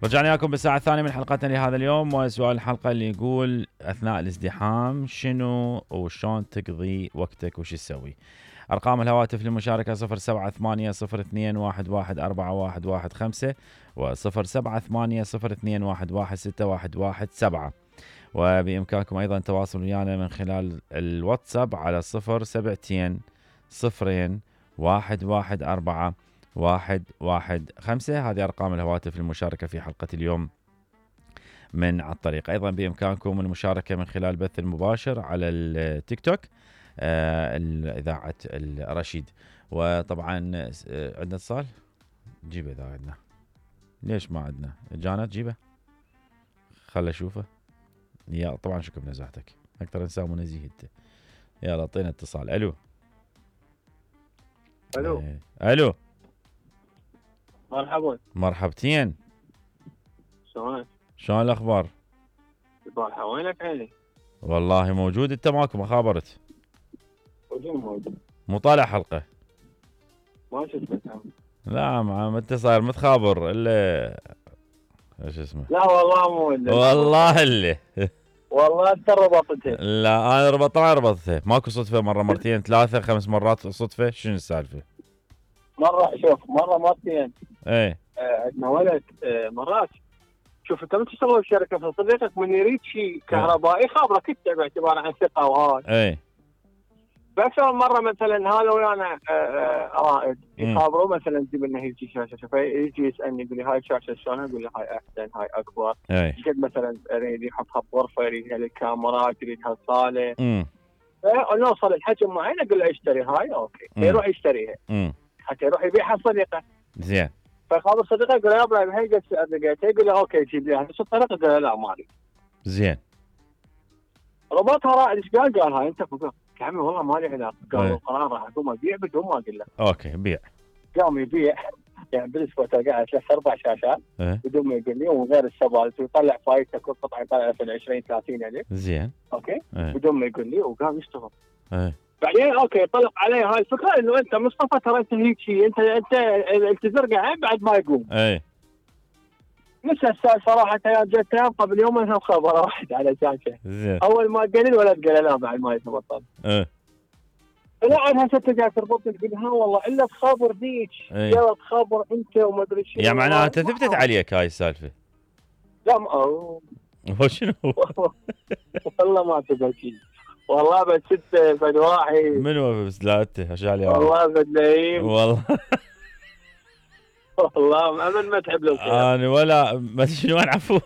رجعنا لكم بالساعة الثانية من حلقتنا لهذا اليوم، وسؤال الحلقة اللي يقول أثناء الازدحام شنو وشون تقضي وقتك وش تسوي؟ أرقام الهواتف للمشاركة 0780211415 و0780211617 وبإمكانكم أيضا التواصل ويانا من خلال الواتساب على 072-02-114-115. هذه أرقام الهواتف للمشاركة في حلقة اليوم من على الطريق. أيضا بإمكانكم المشاركة من خلال البث المباشر على التيك توك إذاعة الرشيد. وطبعا عندنا اتصال، جيبه إذا عندنا. ليش ما عندنا؟ جانا تجيبه، خل أشوفه. يا طبعا شكرا بنزاهتك، أكثر إنسان منزيه أنت. يلا اعطينا اتصال. ألو الو ألو، مرحبا. مرحبتين، شلون الأخبار؟ البارحة وينك عيني؟ والله موجود، أنت ماكو ما خابرت؟ موجود. مو طالع حلقة؟ ما شفتك. لا ما أنت صاير متخابر إلا ايش اسمه؟ لا والله مو والله اللي والله انت ربطته. لا انا طبعا ربطته، ماكو صدفه مره مرتين ثلاثه خمس مرات صدفه، شنو السالفه؟ مره مرتين. ايه عندنا ولد مرات. شوف انت من تشتغل بشركه في صديقك من يريد شيء كهربائي خابرك انت باعتبار عن ثقه وهاي. ايه باكثر من مره مثلا هذا ويانا رائد يخابروا مثلا تجيب لنا هيك شاشه، فيجي يسالني يقول لي هاي الشاشه شلون؟ اقول له هاي احسن، هاي اكبر. قد مثلا اريد يحطها بغرفه، يريدها للكاميرات، يريدها صاله. نوصل الحجم معين اقول له اشتري هاي، اوكي. يروح يشتريها حتى يروح يبيعها صديقه. زين. فخابر صديقه يقول له يا ابراهيم هي قد لقيتها، يقول له اوكي جيب لي نفس الطريقه. يقول له لا مالي. زين. ربطها رائد. ايش قال؟ قال هاي انت فوق. يا عمي والله مالي علاقه. قال القرار راح اقوم ابيع بدون ما اقول له. اوكي بيع. قام يبيع يعني بالنسبه قاعد 3-4 شاشات بدون ما يقول لي، ومن غير السبالت، ويطلع فايته كل قطعه يطلع في 20-30 الف. زين. اوكي بدون ما يقول لي، وقام يشتغل. بعدين اوكي طلق علي هاي الفكره انه انت مصطفى ترى انت هيك شيء، انت تزرقع بعد ما يقوم. نفس السؤال صراحه يا جت قبل يومين هم خبر واحد على شاشه. اول ما قال الولد قال لا بعد ما يتبطل. لا عاد هسه ترجع تربطني تقول ها والله الا تخابر ذيك، يلا تخابر انت وما ادري شنو. يا معناها انت ثبتت عليك هاي السالفه؟ لا هو شنو؟ والله ما ثبت شيء. والله بس انت فد واحد. منو بس؟ لا انت هشالي والله فد لئيم والله. والله ابد ما تحب له الخير. انا ولا ما شنو نعفو.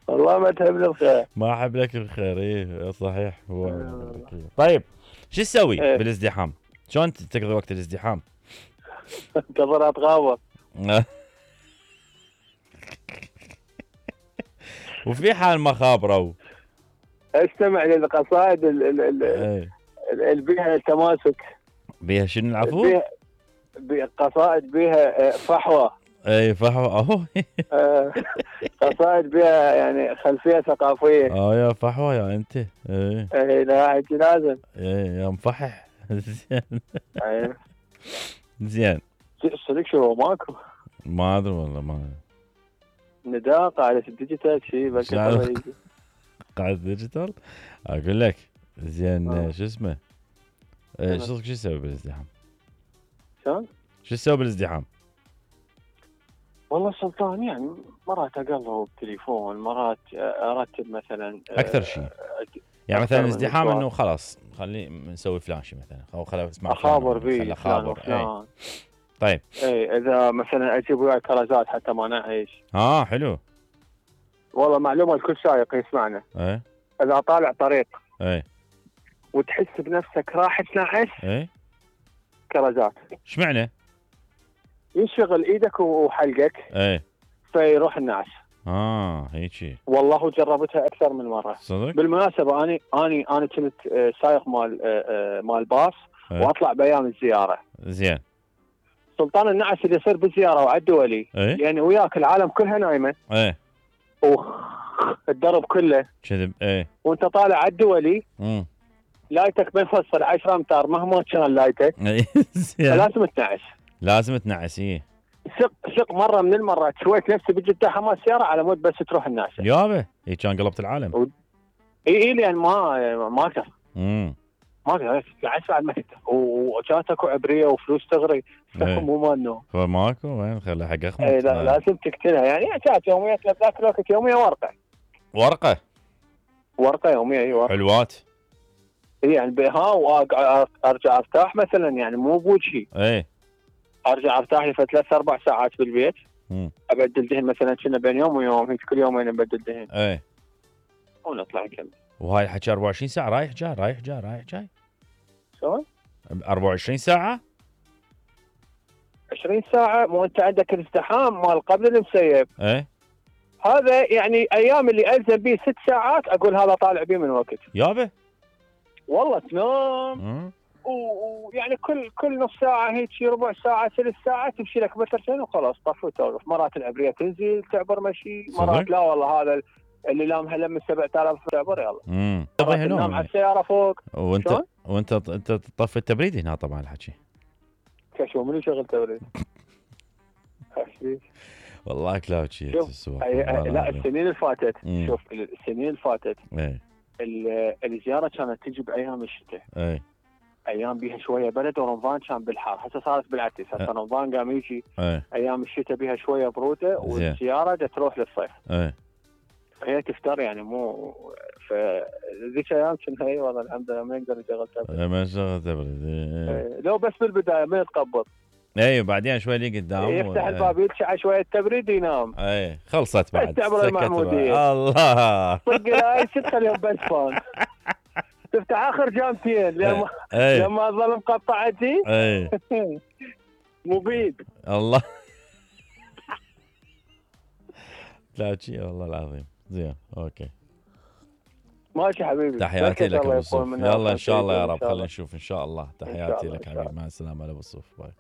والله ما تحب له الخير. ما احب لك الخير. ايه صحيح. هو طيب شو تسوي بالازدحام؟ شلون تقضي وقت الازدحام؟ انتظر اتغابر. وفي حال ما خابروا استمع للقصائد اللي بيها تماسك. بيها شنو العفو؟ قصائد بيها فحوى. اي فحوى اهو. قصائد بيها يعني خلفيه ثقافيه. يا فحوى يا انت. اي لا هيك لازم. يا مفحح. زين. زين. صدق شو ماكو؟ ما ادري والله ما نداء قاعدة الديجيتال شيء بس قاعدة الديجيتال اقول لك. زين شو اسمه؟ شو تسوي بالازدحام؟ شلون؟ شو تسوي بالازدحام؟ والله سلطان يعني مرات اقلب بالتليفون، مرات ارتب مثلا اكثر شيء. يعني مثلا ازدحام انه خلاص خلي نسوي فلان شيء مثلا، او خلينا نسمع اخابر بيه فلان وفلان. طيب اذا مثلا اجيب وياي كرزات حتى ما نعيش. حلو. والله معلومه لكل سائق يسمعنا. اذا طالع طريق وتحس بنفسك راح تنعس كرزات. ايش معنى؟ ينشغل ايدك وحلقك فيروح النعس. هيك. والله جربتها اكثر من مره. صدق؟ بالمناسبه انا كنت سائق مال باص واطلع بايام الزياره. زين. سلطان النعس اللي يصير بالزياره وعلى الدولي يعني وياك العالم كلها نايمه. الدرب كله كذب. وانت طالع على الدولي لايتك منفصل 10 امتار مهما كان لايتك. لازم تنعس. لازم تنعس. ثق مره من المرات سويت نفسي بجده حماس سياره على مود بس تروح الناس يابا كان قلبت العالم. اي لان ما اقدر. ما اقدر قاعد بعد ما تقدر وكانت اكو عبريه وفلوس تغري مو مالنا فماكو وين خلي حق اخمد. لازم تقتلها يعني كانت يوميه ذاك الوقت يوميه ورقه يوميه. ايوه حلوات. يعني بها وارجع ارتاح مثلا يعني مو بوجهي. ارجع ارتاح لي 3-4 ساعات بالبيت. ابدل دهن مثلا كنا بين يوم ويوم هيك كل يومين ابدل دهن. ونطلع نكمل. وهاي الحكي 24 ساعه رايح جاي. شلون؟ 24 ساعه؟ 20 ساعه مو انت عندك الازدحام مال قبل المسيب. هذا يعني ايام اللي الزم بيه 6 ساعات اقول هذا طالع بيه من وقت. يابا والله تنام ويعني كل نص ساعه هيك ربع ساعه 3 ساعات تمشي لك مترين وخلاص طفو وتوقف. مرات العبريه تنزل تعبر مشي مرات لا والله هذا اللي لامها لم 7000 تعبر يلا. تنام على السياره فوق. وانت تطفي التبريد هنا طبعا الحكي. شو منو شغل تبريد؟ والله كلاوتشي لا السنين اللي فاتت شوف السنين اللي فاتت الزياره كانت تجي بايام الشتاء. ايام بيها شويه برد ورمضان كان بالحار. هسه صارت بالعكس هسه رمضان قام يجي ايام الشتاء بيها شويه بروده والزياره تروح للصيف. هي تفتر يعني مو فذيك ايام كنا هي والله الحمد لله ما يقدر يشغل تبريد. ما شغل تبريد. لو بس بالبدايه ما يتقبض. بعدين شوي لي قدام يفتح الباب يتشع شويه تبريد ينام. خلصت بعد تعبر المحموديه. الله صدق هاي ست اليوم بس فان تفتح اخر جامتين لما ظل مقطعتي. مبيد الله. لا شيء والله العظيم زين اوكي ماشي حبيبي. تحياتي لك ابو الصوف. يلا ان شاء الله يا رب خلينا نشوف ان شاء الله. تحياتي لك حبيبي مع السلامه ابو الصوف باي.